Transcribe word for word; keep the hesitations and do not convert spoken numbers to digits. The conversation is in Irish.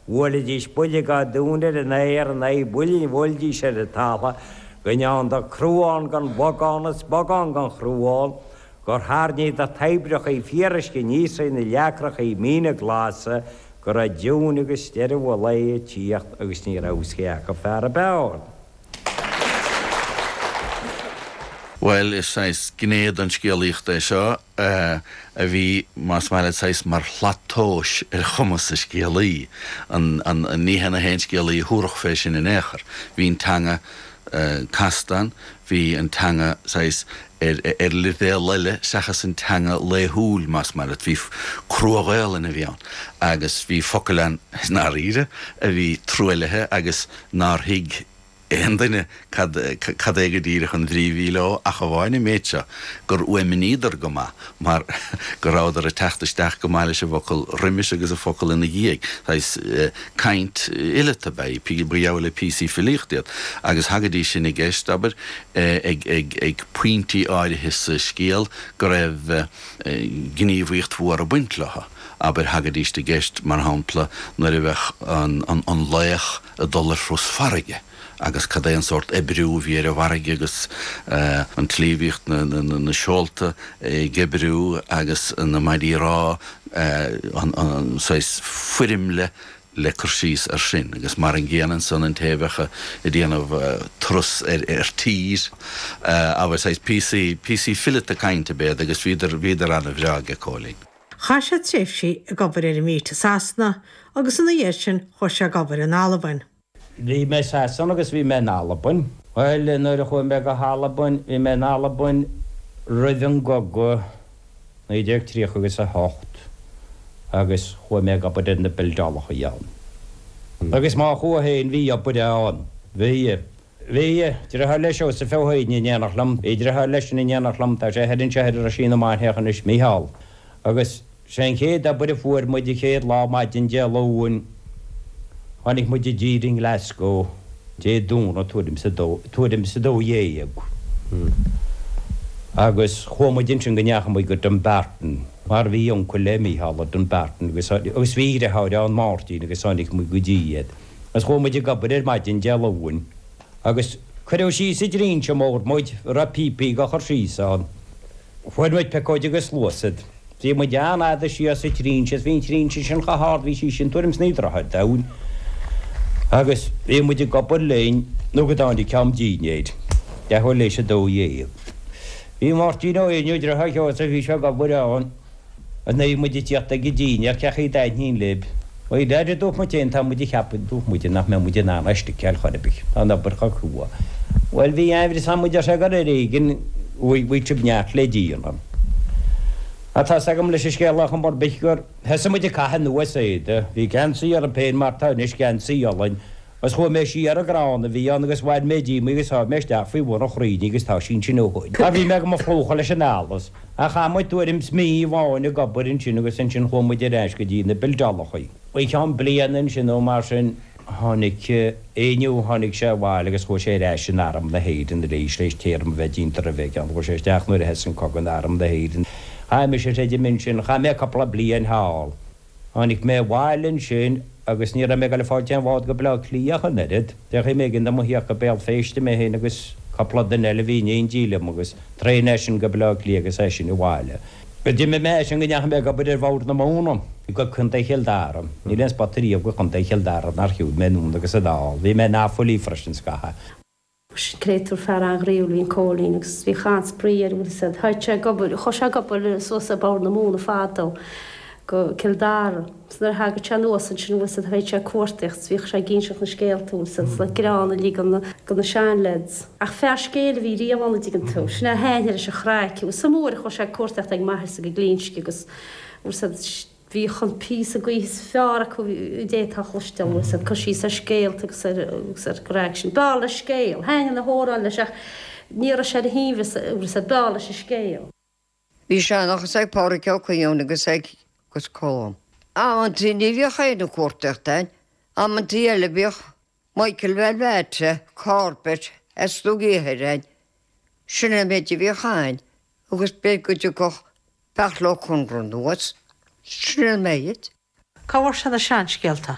Bhuailidís buille gach dún ar an aer in aghaidh buille a bhuailidís ar an talamh, go ndeánadar cruán den bhogán is bogán den chruán, gur tharraingíodar toibreachaí fíoruisce aníos ar na leacrachaí míne glasa, go raibh diúin agus deireadh an lae ag tíocht agus ní raibh fhios cé acu fear ab fhearr. Bhuel, is saghas gné den scéalaíocht é seo a bhí, más maith leat, saghas mar shlat tomhais ar chumas an scéalaí. Ní hé na haon scéalaí a thabharfadh fé sin in aon chor. Bhí an teanga casta ann, bhí an teanga saghas ar ar leibhéal eile seachas an teanga laethúil, más maith leat. Bhí crua-Ghaelainn a bhí ann agus bhí focail ann, i ndáiríre, a bhí truaillithe agus nár thuig aon duine cad cad é go díreach an bhrí a bhí leo ach amháin an méid seo, gur fhuaimníodar go maith mar go rabhadar ag teacht isteach go maith leis an bhfocal roimis agus an focal ina dhiaidh. Saghas caint fhileata ab ea í, ba gheall le píosaí filíochta iad agus thagaidís sin i gceist, abair, ag ag ag pointí áirithe sa scéal go raibh gníomhaíocht mhór ag baint leo. Abair, thagaidís i gceist, mar shampla, nuair a bheadh an an an laoch ag dul ar thuras farraige. agus cad é an sórt oibriú a bhí ar an bhfarraige agus an tslí a bhíodh na seolta ag oibriú agus na maidí rámha, an saghas foirmle le cur síos air sin. Agus mar an gcéanna ansan an té a bheadh ag déanamh turas ar tír, abair, saghas píosaí, píosaí fileata cainte ab ea iad agus bhíodar, bhíodar ana-bhreá aige Cóilín. Chaith sé tréimhsí ag obair ar an mbeach i Sasana agus ina dhiaidh sin chuaigh sé ag obair in Albain. Bhí mé i Sasana agus bhí mé in Albain. Bhuel, nuair a chuaigh mé go hAlbain, bhí mé in Albain roimh an gcogadh, naoi déag tríocha agus a hocht, agus chuaigh mé ag obair ar na bildeálacha ann. Agus má chuaigh féin, bhí obair ann. Bhí. Bhí. Deartháir le Seosamh Ó hEidhin in éineacht liom. Bhí deartháir leisean in éineacht liom, tá sé thoir anseo ar Roisín na Mainiach anois, Mícheál. Agus. Sé an chéad obair a fuair muid an chéad lá maidin Dé Luain, tháinig muid i dtír i nGlasgow Dé Domhnaigh tuairim is a dó, tuairim is a dó dhéag agus chuaigh muid ansin go ndeachaigh muid go Dumbarton mar bhí uncail le Mícheál i Dumbarton agus agus bhí a dheartháir ann Máirtín agus tháinig muid go dtí iad agus chuaigh muid ag obair ar maidin Dé Luain agus cuireadh síos i dtrinse mór muid a raibh píopaí á chur síos ann. Fuair muid piocóid agus sluasaid. Bhí muid an-fhada síos sa trinse is bhí an trinse sin chomh hard, bhí sí sin tuairim is naoi dtroithe domhain agus bhí muid ag obair linn nó go dtáinig am dinnéir, leathuair théis a dó dhéag. Bhí Máirtín Ó Éinniú, deartháir Sheosaimh, bhí sé ag obair ann. Agus nuair a bhí muid ag tíocht ag an dinnéar, cén chaoi a dtaitníonn libh? Bhuel, a dúirt muid féin, tá muid ag ceapadh, dúirt muid, nach mbeidh muid in ann é a sticeáil chor ar bith, tá an obair chomh crua. Bhuel, bhí aimhreas agam, deir sé, gur ar éigean, bhí sibh neart le déanamh. Ach tá's agam leis an scéal ar chuma ar bith gur thosaigh muid ag caitheamh anuas éadaí, bhí geansaí orm féin mar tá anois, geansaí olainn, agus chuaigh mé siar an gcrann a bhí ann agus bhain mé díom í agus sháigh mé isteach faoi bhun an chrainn í agus tá sí ansin ó shoin. Mar bhí mé go mo phlúchadh leis an allas. Ach chaith muid tuairim 's mí amháin ag obair ansin agus ansin chuaigh muid ar ais go dtí na bildeálachaí. Faoi cheann bliana ansin nó mar sin tháinig Éinniú, tháinig sé abhaile agus chuaigh sé ar ais in Arm na hÉireann arís tar éis téarma a bheith déanta roimhe aige ann. Chuaigh sé isteach nuair a thosaigh an cogadh in Arm na hÉireann. Chaith mise threidim ansin, chaith mé cúpla bliain thall. Tháinig mé abhaile ansin agus ní raibh mé ag dul ag fáilt aon bhád go Baile Átha Cliath ach an oiread. D'fhéach b'éigean dom a thíocht go Béal Feirste, mé féin agus cúpla duine eile a bhí in éindí liom agus traein as sin go Baile Átha Cliath agus as sin abhaile. Go d'imigh mé as sin go ndeachaigh mé ag obair ar Bhord na Móna go Contae Chill Dara. Níl aon spota riamh go Chontae Chill Dara nár shiúil mé anonn agus anall. Bhí mé in Offaly freisin scaitheamh. Créatúr fear an-ghroíúil a bhí in Cóilín agus bhíodh an-spraoi air, bhfuil fhios a'd. Théadh sé ag obair, chuaigh sé ag obair suas ar Bhord na Móna fadó go Cill Dara. 'S nuair a thagadh sé anuas ansin, bhfuil fhios a'd, théadh sé ag cuartaíocht 's bhíodh sé ag inseacht na scéalta, bhfuil fhios a'd, 's le greann uilig do na, do na seanleaids. Ach fear scéil a bhí riamh ann, a dtuigeann tú. Sin é a thaitnigh leis an chraic. Bhfuil fhios a'm uair a chuaigh sé ag cuartaíocht ag m'athairse go Glinsce agus, bhfuil fhios a'd, Bhíodh an píosa gaoithe is fearr acu a d'fhéadfá a chloisteáil, bhfuil fhios a'd, cur síos ar scéalta agus ar agus ar craic sin. B'fhearr leis scéal. Thaitnigh na hamhráin leis ach ní raibh sé ar a shuaimhneas, bhfuil fhios a'd, b'fhearr leis an scéal. Bhí seanchas ag Pádhraic Ó Coileáin agus ag agus Colm. Amantaí ní bhíodh éinne ag cuartaíocht ann, amantaí eile bhíodh Michael Velvete, Corbett as Dumha Uidhir ann. Sin an méid a bhíodh ann agus b'fhéidir go dtiocfadh Beartla Ó Conra anuas, sin an méid. Cá bhfuair sé na seanscéalta?